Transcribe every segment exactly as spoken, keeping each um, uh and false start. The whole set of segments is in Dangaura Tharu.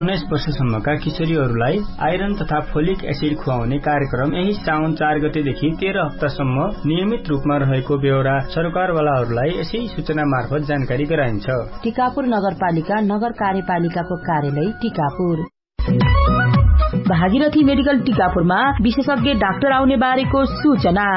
उन्नाइस वर्षसम्मका किशोरीहरूलाई आइरन तथा फोलिक एसिड खुवाउने कार्यक्रम यही साउन चार गतेदेखि तेह्र हप्तासम्म नियमित रूपमा रहेको बेहोरा सरकारवालाहरूलाई यसै सूचना मार्फत जानकारी गराइन्छ। टिकापुर नगरपालिका नगर कार्यपालिकाको कार्यालय टिकापुर। भागीरथी मेडिकल टिकापुरमा विशेषज्ञ डाक्टर आउने बारेको सूचना।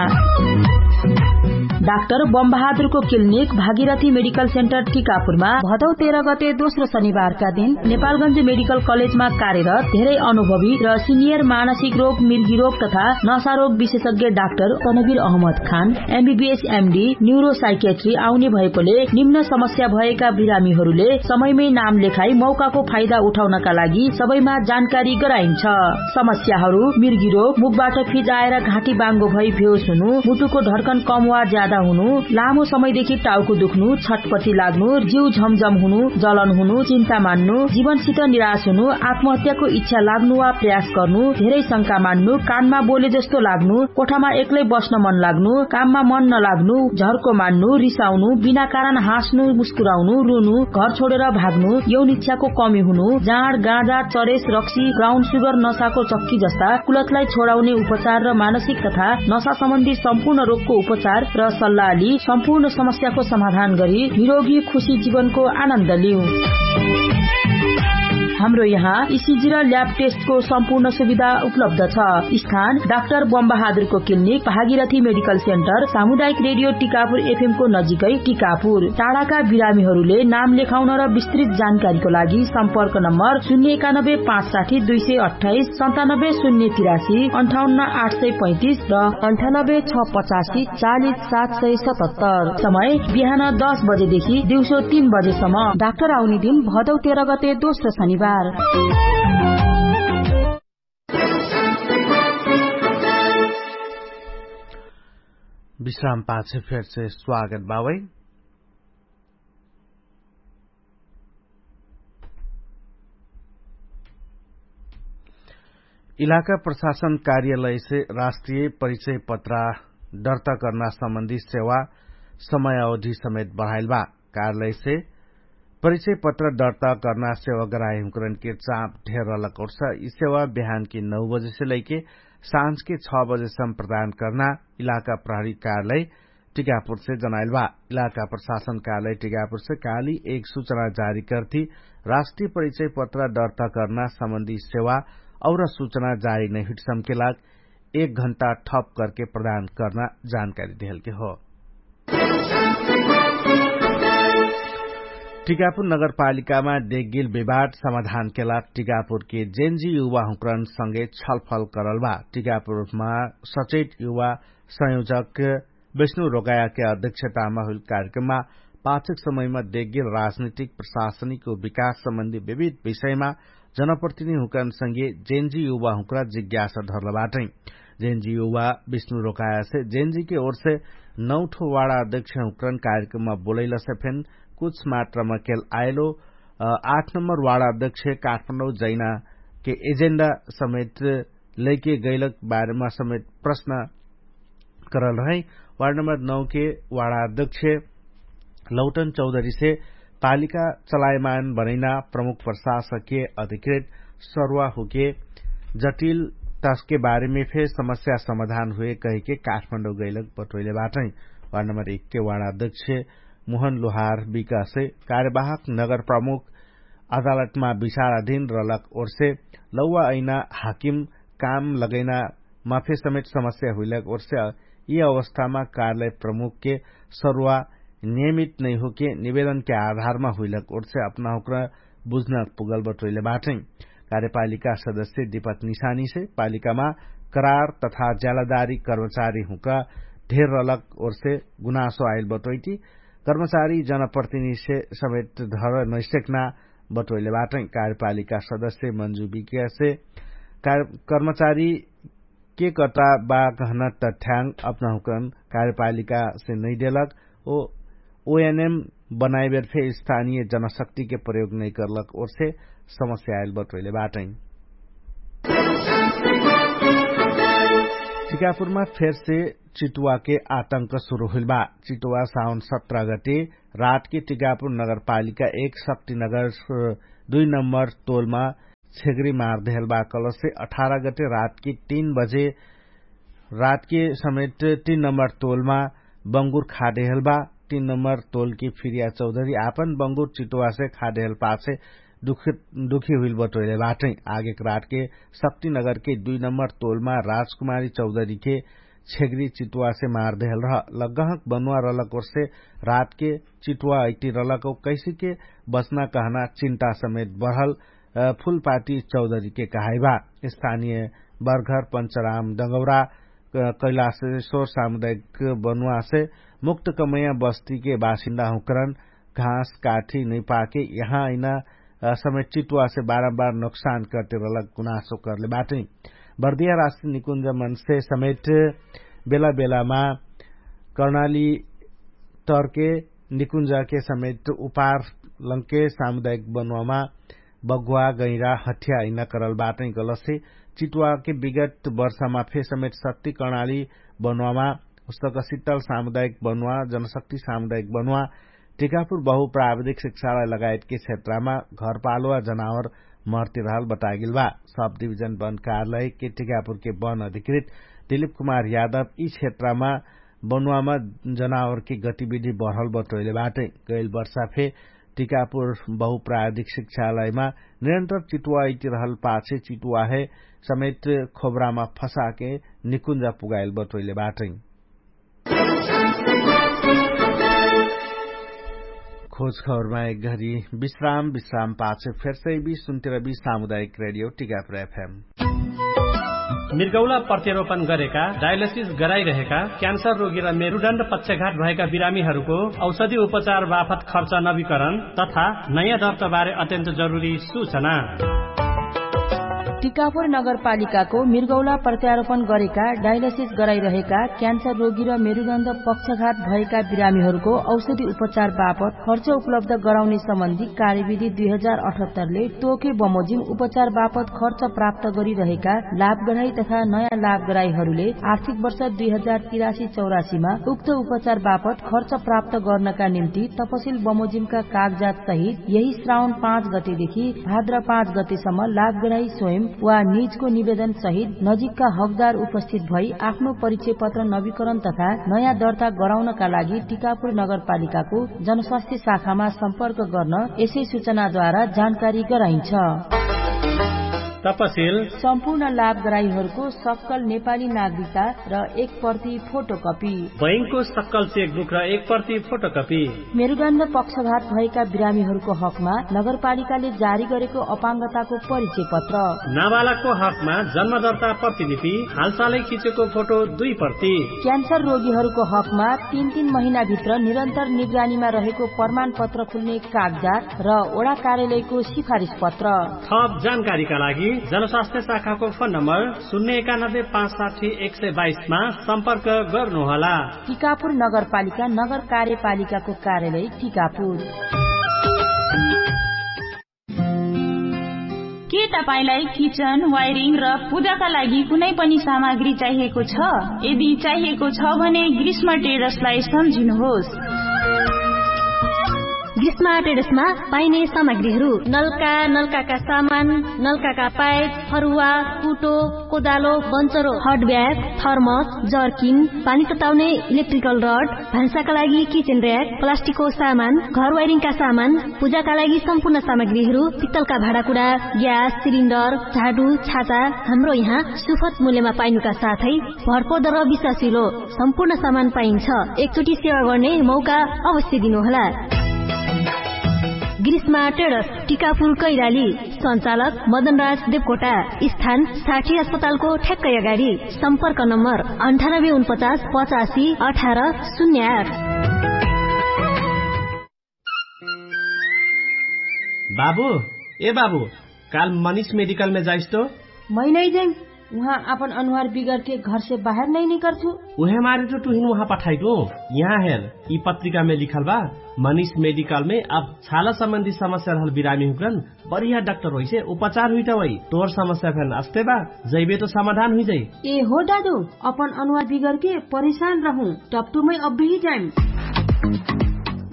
डाक्टर बमबहादुरको क्लिनिक भागीरथी मेडिकल सेन्टर टिकापुरमा भदौ तेह्र गते दोस्रो शनिबारका दिन नेपालगञ्ज मेडिकल कलेजमा कार्यरत धेरै अनुभवी र सिनियर मानसिक रोग, मिर्गी रोग तथा नशा रोग विशेषज्ञ doctor Tanveer Ahmed Khan MBBS MD neuro psychiatry आउने भएकोले निम्न समस्या भएका बिरामीहरूले समयमै नाम लेखाई मौकाको फाइदा उठाउनका लागि सबैमा जानकारी गराइन्छ। समस्याहरू मिर्गी रोग, मुखबाट फिज आएर घाँटी बाङ्गो भई बेहोस हुनु, मुटुको धड्कन कम वा ज्यादा हुनु, लामो समयदेखि टाउको दुख्नु, छटपटी लाग्नु, जिउ झमझम हुनु, जलन हुनु, चिन्ता मान्नु, जीवनसित निराश हुनु, आत्महत्याको इच्छा लाग्नु वा प्रयास गर्नु, धेरै शंका मान्नु, कानमा बोले जस्तो लाग्नु, कोठामा एक्लै बस्न मन लाग्नु, काममा मन नलाग्नु, झर्को मान्नु, रिसाउनु, बिना कारण हाँस्नु, मुस्कुराउनु, रुनु, घर छोडेर भाग्नु, यौन इच्छाको कमी हुनु, जाँड, गाँजा, चरेस, रक्सी, ब्राउन सुगर, नसाको चक्की जस्ता कुलतलाई छोडाउने उपचार र मानसिक तथा नसा सम्बन्धी सम्पूर्ण रोगको उपचार र सल्लाह लि सम्पूर्ण समस्याको समाधान गरी निरोगी खुशी जीवनको आनन्द लिऊ। हाम्रो यहाँ इसिजी र ल्याब टेस्टको सम्पूर्ण सुविधा उपलब्ध छ। स्थान डाक्टर बमबहादुरको क्लिनिक, भागीरथी मेडिकल सेन्टर, सामुदायिक रेडियो टिकापुर एफएमको नजिकै टिकापुर। टाढाका बिरामीहरूले नाम लेखाउन र विस्तृत जानकारीको लागि सम्पर्क नम्बर शून्य एकानब्बे पाँच साठी दुई सय अट्ठाइस, सन्तानब्बे शून्य तिरासी, अन्ठाउन्न आठ सय पैँतिस र अन्ठानब्बे छ पचासी चालिस सात सय सतहत्तर। समय बिहान दस बजेदेखि दिउँसो तीन बजेसम्म। डाक्टर आउने दिन भदौ तेह्र गते दोस्रो शनिबार। विश्राम पाछे फेर से स्वागत बावै। इलाका प्रशासन कार्यालय से राष्ट्रिय परिचय पत्रा दर्ता कर्ना सम्बन्धी सेवा समय अवधि समेत बढाइल बा। कार्यालय से परिचय पत्र दर्ता कर्ना सेवा गराए हुँकरन के चाप ढेर रहलक ओर्स यि सेवा बिहान के नौ बजे से लैके साँझ के छ बजे सम्म प्रदान कर्ना इलाका प्रहरी कार्यालय टिकापुर से जनाइल बा। इलाका प्रशासन कार्यालय टिकापुर से काली एक सूचना जारी कर्ती राष्ट्रिय परिचय पत्र दर्ता कर्ना सम्बन्धी सेवा और सूचना जारी नै हुइट सम्के लाग एक घण्टा ठप करके प्रदान कर्ना जानकारी देहलके हो। टिकापुर नगरपालिकामा देगिल विवाद समाधानके लाग टिकापुरके जेन्जी युवा हुँकरन सँगे छलफल करल बा। टिकापुरमा सचेत युवा संयोजक विष्णु रोगायाके अध्यक्षतामा हुइल कार्यक्रममा पाछक समयमा देगिल राजनीतिक प्रशासनिक विकास सम्बन्धी विविध विषयमा जनप्रतिनिधि हुँकरन सँगे जेन्जी युवा हुँकरा जिज्ञासा धरल बाटै। जेन्जी युवा विष्णु रोकायासे जेन्जीके ओरसे नौठो वाडा अध्यक्ष हुँकरन कार्यक्रममा बोलैलसे फेन कुछ मात्रामा केल आइलो आठ नम्बर वाडा अध्यक्ष काठमाडौँ जैनाके एजेन्डा समेत लैके गैलक बारेमा समेत प्रश्न करल रहै। वार्ड नम्बर नौ के वार्ड अध्यक्ष लौटन चौधरी से पालिका चलायमान बनैना प्रमुख प्रशासक के अधिकृत सरुवा हुके जटिल तस्के बारेमे फे समस्या समाधान हुए कहिके काठमाडौँ गैलक बटोइले बाटै। वार्ड नम्बर एक के वार्ड अध्यक्ष मोहन लोहार विकासे कार्यवाहक नगर प्रमुख अदालतमा विचाराधीन रहलक ओर्से लौवा ऐना हाकिम काम लगैना माफे समेत समस्या हुइलक ओर्से यि अवस्थामा कार्यालय प्रमुखके सरुवा नियमित नैहोके निवेदनके आधारमा हुइलक ओर्से अपनाहुक्र बुझ्न पुगल बटोइले बाटै। कार्यपालिका सदस्य दिपक निशानीसे पालिकामा करार तथा ज्यालादारी कर्मचारी हुँका ढेर रहलक ओर्से गुनासो आइल बटोइटी कर्मचारी जनप्रतिनिधिसे समेत धर नैसेक्ना बटोइले बाटै। कार्यपालिका सदस्य मन्जु विज्ञसे कर्मचारी के कटा बा कहना तथ्याङ्ग अपनाहुकन कार्यपालिकासे नैदेलक ओ ओएनएम बनाइबेर फे स्थानिय जनशक्तिके प्रयोग नैकर्लक ओर्से समस्या आइल बटोइले बाटै। टिकापुरमा फेरसे चितुवाके आतंक सुरु हुइल बा। चितुवा साउन सत्र गते रातके टिकापुर नगरपालिका एक शक्तिनगर दुई नम्बर तोलमा छेगरी मार देहल बा कलसे अठारह गटे रातके तीन बजे रातके समेट तीन नम्बर तोलमा बंगुर खा देहल बा। तीन नम्बर तोलके फिरिया चौधरी आपन बंगुर चिटुवासे खा देहल पाछे दुखी हुइल बटोइले बाटै। आगेक रातके शक्तिनगरके दुई नम्बर तोलमा राजकुमारी चौधरीके छेगरी चिटुवासे मार देहल रह। लग्गहक बनुवा रलक ओर्से रातके चिटुवा अइटी रलक कैसेके बचना कहना चिन्ता समेट बढल फुलपाटी चौधरीके कहाइबा। स्थानिय बरघर पंचराम डगौरा कैलाशेश्वर सामुदायिक बनुवासे मुक्त कमैया बस्तीके बासिन्दा हुँकरन घाँस काठी नैपाके यहाँ अइना समेट चिटुवासे बारम्बार नोक्सान करते रलक गुनासो करले बाटै। बर्दिया राष्ट्रिय निकुञ्ज मनसे समेट बेला बेलामा कर्णाली टर्के निकुञ्जके समेट उपार लङ्के सामुदायिक बनुवामा बगुवा गैरा हठ्या अइना करल बाटै। गलसे चिटुवाके विगत वर्षमा फे समेट शक्ति कर्णाली बनुवामा उस्तक सित्तल सामुदायिक बनुवा जनशक्ति सामुदायिक बनुवा टिकापुर बहुप्राविधिक शिक्षालय लगायतके क्षेत्रमा घरपालुवा जनावर मर्तिरहल बतागेल बा। सब डिभिजन वन कार्यालयके टिकापुरके वन अधिकृत दिलिप कुमार यादव यि क्षेत्रमा बनुवामा जनावरके गतिविधि बढल बटोइले बाटै। गैल वर्षा फे टिकापुर बहुप्राविधिक शिक्षालयमा निरन्तर चिटुवा अइतिरहल पाछे चिटुवाहे समेट खोबरामा फसाके निकुन्जा पुगाइल बटोइले बाटै। खोज खबरमा एक घरी विश्राम विश्राम पाछे फेरसै बि सुन्तिरबि सामुदायिक रेडियो टिकापुर एफएम। मिर्गौला प्रत्यारोपण गरेका डायलिसिस गराइरहेका क्यान्सर रोगी र मेरुडण्ड पक्षघात भएका बिरामीहरूको औषधि उपचार बापत खर्च नवीकरण तथा नयाँ दर्ताबारे अत्यन्त जरुरी सूचना। टिकापुर नगरपालिकाको मिर्गौला प्रत्यारोपण गरेका डायलिसिस गराइरहेका क्यान्सर रोगी र मेरुडण्ड पक्षघात भएका बिरामीहरूको औषधि उपचार बापत खर्च उपलब्ध गराउने सम्बन्धी कार्यविधि दुई हजार अठहत्तरले तोके बमोजिम उपचार बापत खर्च प्राप्त गरिरहेका लाभग्राही तथा नयाँ लाभग्राहीहरूले आर्थिक वर्ष दुई हजार तिरासी चौरासीमा उक्त उपचार बापत खर्च प्राप्त गर्नका निम्ति तपसिल बमोजिमका कागजात सहित यही श्रावण पाँच गतेदेखि भाद्र पाँच गतेसम्म लाभग्राही स्वयं वा निजको निवेदन सहित नजिकका हकदार उपस्थित भई आफ्नो परिचय पत्र नवीकरण तथा नयाँ दर्ता गराउनका लागि टिकापुर नगरपालिकाको जनस्वास्थ्य शाखामा सम्पर्क गर्न यसै सूचनाद्वारा जानकारी गराइन्छ। तपसिल सम्पूर्ण लाभग्राहीहरूको सक्कल नेपाली नागरिकता र एक प्रति फोटोकपी बैंकको सक्कल चेकबुक र एक प्रति फोटोकपी मेरुदण्ड पक्षघात भएका बिरामीहरूको हकमा नगरपालिकाले जारी गरेको अपाङ्गताको परिचय पत्र नाबालकको हकमा जन्मदर्ता प्रतिलिपि हालसालै खिचेको फोटो दुई प्रति क्यान्सर रोगीहरूको हकमा तीन तीन महिनाभित्र निरन्तर निगरानीमा रहेको प्रमाणपत्र खुल्ने कागजात र ओडा कार्यालयको सिफारिस पत्र थप जानकारीका लागि जनस्वास्थ्य शाखाको फोन नम्बर शून्य एकानब्बे पाँच साठी एक सय बाइसमा सम्पर्क गर्नुहोला। टिकापुर नगरपालिका नगर कार्यपालिकाको कार्यालय टिकापुर। के तपाईंलाई किचन वायरिङ र पूजाका लागि कुनै पनि सामग्री चाहिएको छ? यदि चाहिएको छ भने ग्रीष्म टेरसलाई सम्झिनुहोस्। ग्रीष्म टेरसमा पाइने सामग्रीहरू नल्का नल्काका सामान, नल्काका पाइप, फरुवा, कुटो, कोदालो, बन्चरो, हटब्याग, थर्मस, जर्किन, पानी तताउने इलेक्ट्रिकल रड, भान्साका लागि किचेन र्याक, प्लास्टिकको सामान, घर वायरिङका सामान, पूजाका लागि सम्पूर्ण सामग्रीहरू, पित्तलका भाँडाकुडा, ग्यास सिलिन्डर, झाडु, छाता, हाम्रो यहाँ सुफत मूल्यमा पाइनुका साथै भरपर्दो र विश्वासिलो सम्पूर्ण सामान पाइन्छ। एकचोटि सेवा गर्ने मौका अवश्य दिनुहोला। ग्रीष्मा टेडस, टिकापुर कैराली। सञ्चालक मदनराज देवकोटा। स्थान साठी अस्पतालको ठ्याक्कै अगाडि। सम्पर्क नम्बर अन्ठानब्बे उनपचास पचासी अठार शून्य आठ। बाबु, ए बाबु, काल मनिष मेडिकलमे जाइस तो? मै नै जैम। उहाँ आपन अनुहार बिगरके घरसे बाहेर नै निकर्छु। उहे मारे तो तुहिन उहाँ पठाइटु। यहाँ हेर, यि पत्रिकामे लिखल बा। मनिष मेडिकलमे अब छाला सम्बन्धी समस्या रहल बिरामी हुकरन बढिया डाक्टर होइसे उपचार हुइटा वइ। तोर समस्या फेन अस्ते बा, जैबे तो समाधान हुइजाइ। ए हो दादु, अपन अनुहार बिगरके परेशान रहु। टप्टुमै अब्बेही जाइम।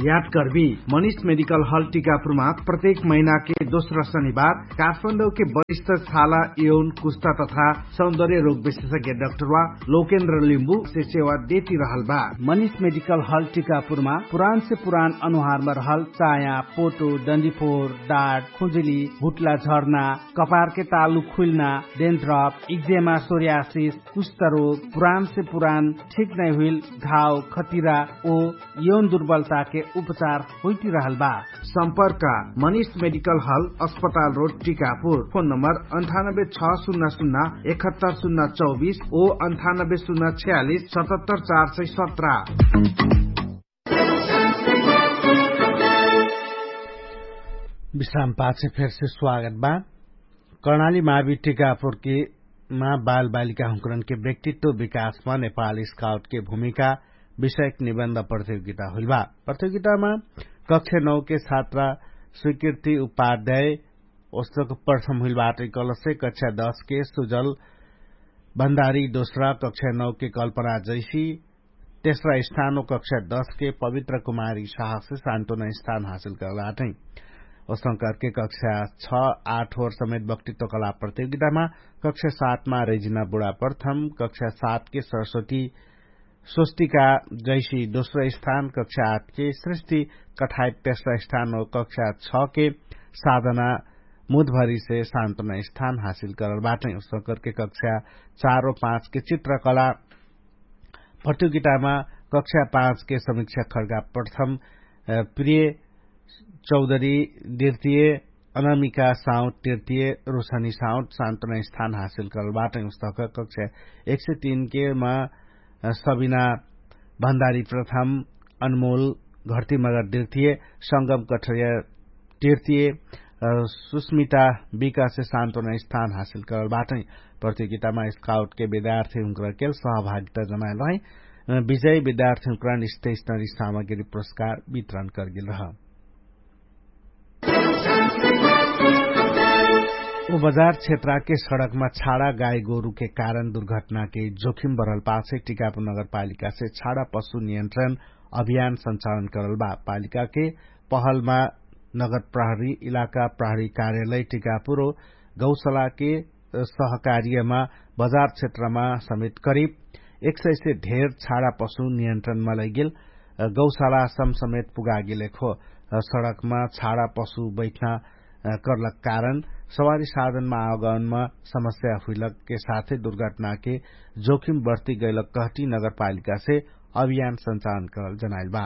याद कर्बी, मनिष मेडिकल हल टिकापुरमा प्रत्येक महिनाके दोस्रा शनिबार काठमाडौके वरिष्ठ छाला, यौन, कुष्टा तथा सौन्दर्य रोग विशेषज्ञ डाक्टरवा लोकेन्द्र लिम्बु से सेवा देती रहल बा। मनिष मेडिकल हल टिकापुरमा पुरान से पुरान अनुहारमा रहल चाया, पोटो, डन्डीफोर, डाट, खुजुली, हुट्ला झर्ना, कपारके तालु खुइल्ना, डेन्थ्रप, इक्जेमा, सोर्यासिस, कुष्ठरोग, पुरान से पुरान ठिक नै हुइल घाव, खतिरा ओ यौन दुर्बलताके उपचार होइतिरहल बा। सम्पर्क, मनिष मेडिकल हल, अस्पताल रोड, टिकापुर। फोन नम्बर अन्ठानब्बे छ सुन्ना सुन्ना एकहत्तर सुन्ना चौबिस ओ अन्ठानब्बे सुन्ना छ्यालिस सतहत्तर चार सय सत्र। विश्राम पाछे फेरसे स्वागत बा। कर्णाली मावि टिकापुरके मा बालबालिका हुँकरनके व्यक्तित्व विकासमा नेपाल स्काउटके भूमिका विषयक निबन्ध प्रतियोगिता हुइल बा। प्रतियोगितामा कक्षा नौके छात्रा स्वीकृति उपाध्याय ओस्तक प्रथम हुइल बाटै कलसे कक्षा दसके सुजल भण्डारी दोस्रा, कक्षा नौके कल्पना जैसी तेस्रा स्थान ओ कक्षा दसके पवित्र कुमारी साहसे सान्तोना स्थान हासिल करल बाटै। ओस्तक करके कक्षा छ आठ ओर समेत व्यक्तित्व कला प्रतियोगितामा कक्षा सातमा रेजिना बुढा प्रथम, कक्षा सातके सरस्वती स्वस्तिका जैसी दोस्रो स्थान, कक्षा आठके सृष्टि कठायत तेस्रो स्थान ओ कक्षा छके साधना मुधभरिसे सान्तोना स्थान हासिल करल बाटै। ओस्तक करके कक्षा चार ओ पाँचके चित्रकला प्रतियोगितामा कक्षा पाँचके समीक्षा खड्गा प्रथम, प्रिय चौधरी द्वितीय, अनामिका साउट तृतीय, रोशनी साउट सान्तोना स्थान हासिल करल बाटै। उस्तक कक्षा एक सय तीनके मा सबिना भण्डारी प्रथम, अनमोल घर्ती मगर द्वितीय, संगम कठरिया तृतीय, सुस्मिता विकासे सान्तोना स्थान हासिल करल बाटै। प्रतियोगितामा स्काउटके विद्यार्थी हुँकरकेल सहभागिता जनाएल रहै। विजय विद्यार्थी हुँकरन स्टेशनरी सामग्री पुरस्कार वितरण करगेल रह। उ बजार क्षेत्रके सडकमा छाडा गाई गोरुके कारण दुर्घटनाके जोखिम बढल पाछे टिकापुर नगरपालिकासे छाडा पशु नियन्त्रण अभियान सञ्चालन करल बा। पालिकाके पहलमा नगर प्रहरी इलाका प्रहरी कार्यालय टिकापुर ओ गौसलाके सहकार्यमा बजार क्षेत्रमा समेत करिब एक सय से ढेर छाडा पशु नियन्त्रणमा लैगेल गौशाला सम समेत पुगागेल एक हो। सडकमा छाडा पशु बैठना करलक कारण सवारी साधनमा आवागमनमा समस्या हुइलकके साथै दुर्घटनाके जोखिम बढ्ती गैलक कहटी नगरपालिकासे अभियान सञ्चालन करल जनाइल बा।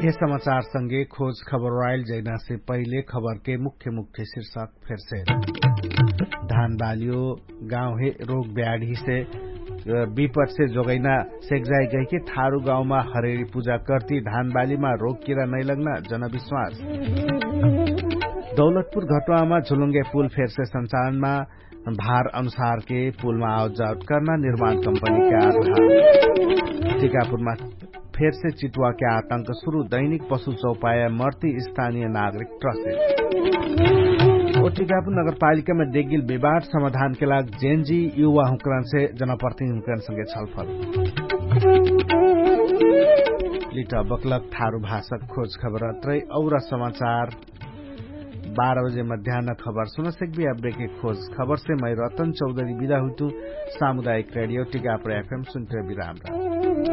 यह समाचार संगे खोज खबर राइल जैनासे पहिले खबरके मुख्य मुख्य शीर्षक फेरसे। धानबालियो गाउँहे रोग ब्याढीसे विपटसे जोगैना सेक्जाइ गैके थारु गाउँमा हरेरी पुजा कर्ती धानबालिमा रोग किरा नैलग्ना जनविश्वास। दौलतपुर घटुवामा झुलुङ्गे पुल फेरसे सञ्चालनमा भार अनुसारके पुलमा आवजावट कर्ना निर्माण कम्पनीके आधार। टिकापुरमा फेरसे चितुवाके आतंक सुरु दैनिक पशु चौपाया मर्ती स्थानीय नागरिक ट्रसे। ओ टिकापुर नगरपालिकामा देगिल विवाद समाधानके लाग जेनजी युवा हुँकरनसे जनप्रतिनिधि हुँकरनसँगे छलफल। लिट बक्लक थारु भाषक खोज खबर अत्रै और समाचार बाह्र बजे मध्यान खबर सुनसक्बी। अब्बेके खोज खबरसे मै रतन चौधरी बिदा हुइतु। सामुदायिक रेडियो टिकापुर एफएम सुन्ठ्रे बिराम।